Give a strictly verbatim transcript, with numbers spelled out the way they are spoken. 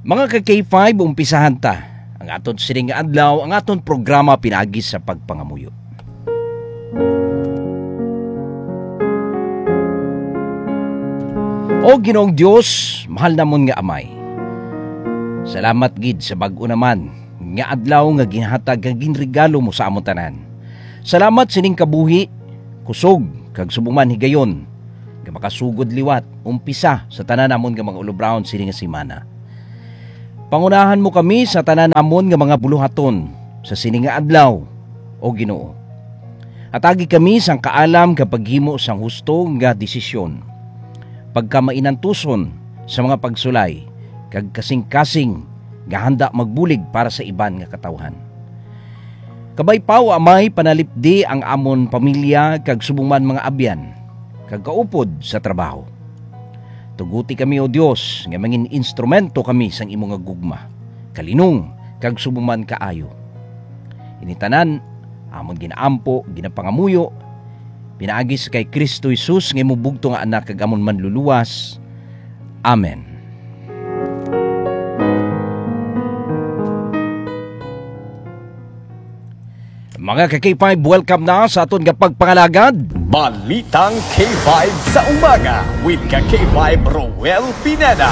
Mga ka K five, umpisahan ta ang aton sining nga adlaw, ang aton programa pinaagi sa pagpangamuyo. O Ginoong Dios, mahal namon nga Amay, salamat gid sa bag-o naman nga adlaw nga ginhatag nga ginregalo mo sa amon tanan. Salamat sining kabuhi, kusog, kag subong man higayon nga makasugod liwat, umpisa sa tanan namon nga mga ulubraon sini nga semana. Pangunahan mo kami sa tanan namon nga mga buluhaton sa sini nga adlaw, O Ginoo. Hatagi kami sang kaalam nga paghimo sang husto nga desisyon, pagkamainantuson sa mga pagsulay, kag kasing-kasing nga handa magbulig para sa iban nga katawhan. Kabay pa, O Amay, panalipdi ang amon pamilya kag subong man mga abyan kag kaupod sa trabaho. Tuguti kami, O Dios, nga mangin instrumento kami sang imo nga gugma, kalinong, kag subong man kaayo. Ini tanan amon ginaampo, ginapangamuyo, pinaagi sa kay Kristo Jesus nga imo bugtong nga Anak kag amon Manluluwas. Amen. Mga ka K five, welcome na sa aton nga pagpangalagad. Balitang K five sa umaga with ka K five Roel Pineda.